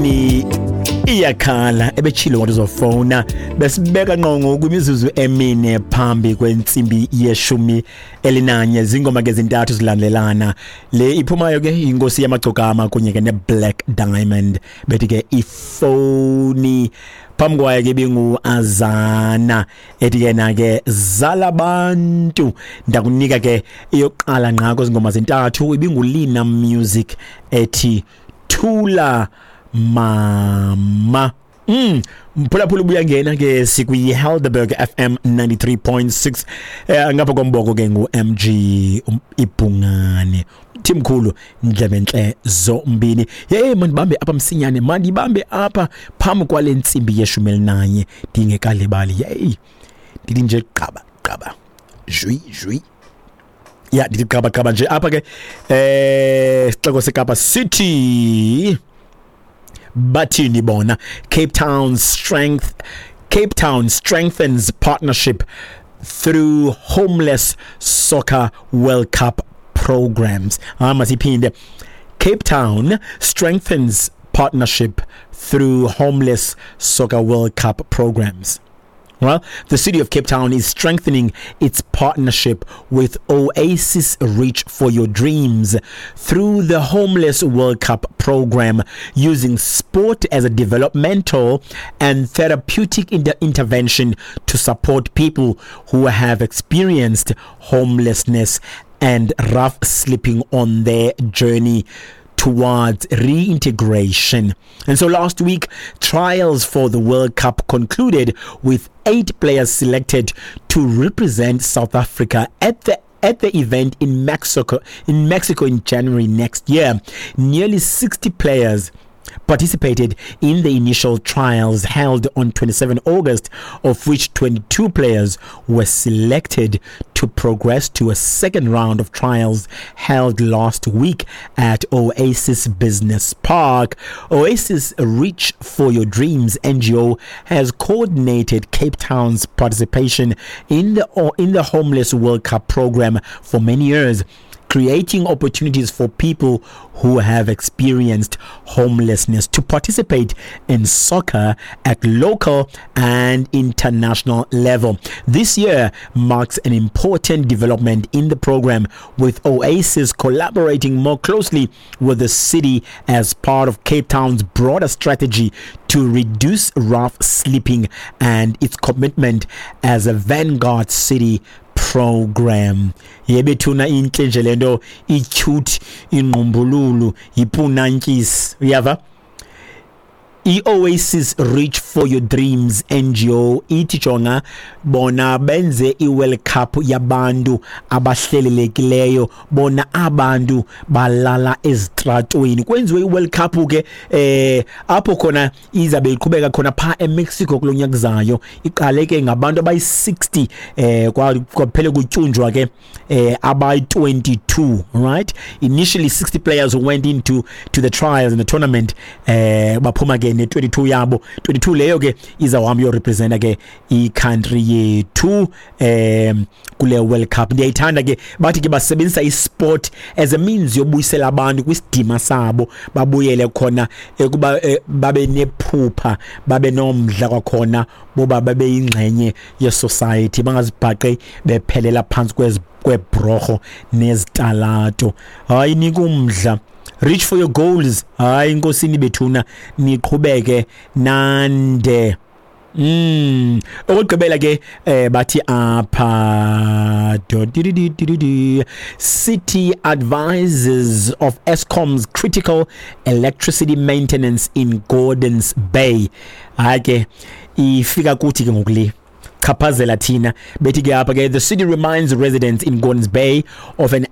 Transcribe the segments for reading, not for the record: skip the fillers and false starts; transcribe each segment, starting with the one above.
Ni iyakhala ebetshilo wathi uzofowuna. Besibeka ngqongo kwimizuzu 4 phambi kwentsimbi ye-11. Zingoma ke zintathu zilandelana. Le iphumayo ke inkosi yamagcokama kunye ke ne-Black Diamond, bethi ke ifoni. Phambi kwayo ke ibingu-Azana ethi ke na ke zalabantu. Ndakunika ke eyokuqala ngqa kwezi ngoma zintathu, ibinguLina Music ethi Thula Mama. Mphulaphula ubuyangena ke sikwi Helderberg FM 93.6. Ngapha komboko ke ngu MG Ibhungane. Thimkhulu ndlebentle zombini. Hey, mandibambe apha msinyane, mandibambe apha phambi kwale ntsimbi ye-11 ndingekalibali. Hey, ndithi nje qaba qaba. Jui jui. Ya, ndithi qaba qaba nje apha ke sixeko seKapa City. Bathini bona? Cape Town strengthens partnership through homeless soccer World Cup programs. Masiphinde. Cape Town strengthens partnership through homeless soccer World Cup programs. Well, the city of Cape Town is strengthening its partnership with Oasis Reach for Your Dreams through the Homeless World Cup program, using sport as a developmental and therapeutic intervention to support people who have experienced homelessness and rough sleeping on their journey towards reintegration. And so last week, trials for the World Cup concluded with 8 players selected to represent South Africa at the event in Mexico in January next year. Nearly 60 players participated in the initial trials held on 27 August, of which 22 players were selected to progress to a second round of trials held last week at Oasis Business Park. Oasis Reach for Your Dreams NGO has coordinated Cape Town's participation in the Homeless World Cup program for many years, creating opportunities for people who have experienced homelessness to participate in soccer at local and international level. This year marks an important development in the program, with Oasis collaborating more closely with the city as part of Cape Town's broader strategy to reduce rough sleeping and its commitment as a vanguard city program. Yebethuna, intle nje lento, i-cute, ingqumbululu, yipunantyisi, uyava? I-Oasis Reach for Your Dreams NGO ithi jonga bona benze i-World Cup yabantu abahlelelekileyo, bona abantu balala ezitratweni. Kwenziwe i-World Cup ke apho khona izabe iqhubeka khona pha eMexico kulonyaka zayo. Iqale ke ngabantu abayi-60, kwaphele kutyunjwa ke abayi-22. Right, initially 60 players who went into to the trials in the tournament, baphuma ke ne-22 yabo. 22 leyo ke izawuhamba iyorepresenta ke i-country yethu kule World Cup. Ndiyayithanda ke, bathi ke basebenzisa isport as a means yobuyisela abantu kwisidima sabo, babuyele khona ekuba babe nephupha, babe nomdla kwakhona boba babe yingxenye ye-society, bangazibhaqi bephelela phantsi kwezi kwebhrorho nezitalato. Hayi, nika umdla. Reach for your goals. Hayi, inkosini bethuna, niqhubeke nande. Okugqibela ke bathi apha do di di di di di, city advises of Eskom's critical electricity maintenance in Gordons Bay. Hayi ke, ifika kuthi ke ngokule chaphazela thina. Bethi ke apha ke, the city reminds residents in Gordons Bay of an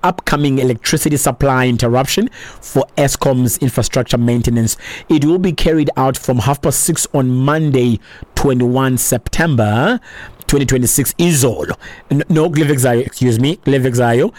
upcoming electricity supply interruption for Eskom's infrastructure maintenance. It will be carried out from 6:30 on Monday, 21 September 2026, izolo. No, kule veki zayo, excuse me, kule veki zayo.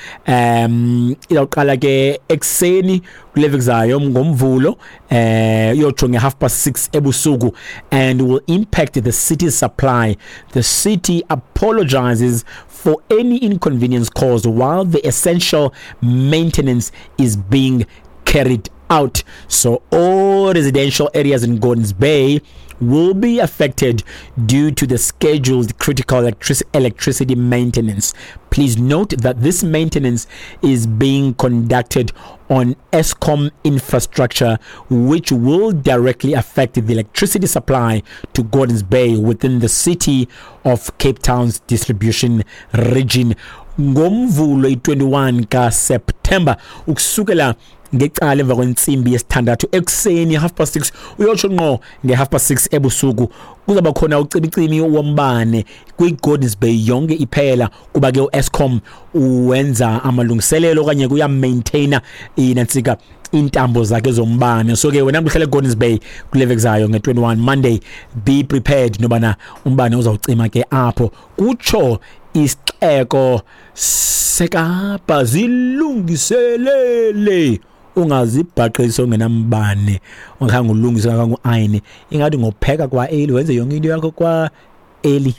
Izawuqala ke ekuseni kule veki zayo ngoMvulo iyotsho nge-6:30 ebusuku and will impact the city's supply. The city apologizes for any inconvenience caused while the essential maintenance is being carried out. So all residential areas in Gordons Bay will be affected due to the scheduled critical electricity maintenance. Please note that this maintenance is being conducted on Eskom infrastructure, which will directly affect the electricity supply to Gordons Bay within the city of Cape Town's distribution region. Ngomvulo i-21 kaSeptemba ukusukela ngecala emva kwentsimbi yesithandathu ekuseni, 6:30, uyotsho ngqo nge-6:30 ebusuku, kuzawuba khona ucimicimi wombane kwi-Gordons Bay yonke iphela, kuba ke u-Eskom uwenza amalungiselelo okanye kuyamaintaina inantsika iintambo zakhe zombane. So ke wena mntu uhlala eGordons Bay kule veki zayo nge-21 Monday, be prepared nobana umbane uzawucima ke apho, kutsho isixeko seKapa. Zilungiselele, ungazibhaqisi ungenambane, ungakhange ulungise, ungakhange uayine. Ingathi ngopheka kwa-eli, wenze yonke into yakho kwa-eli.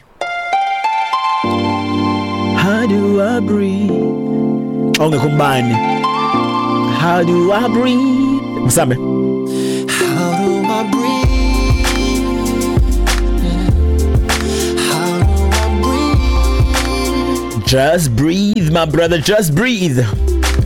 How do I breathe xa ungekho umbane? How do I breathe? Msambe. How do I breathe? How do I breathe? Just breathe, my brother, just breathe.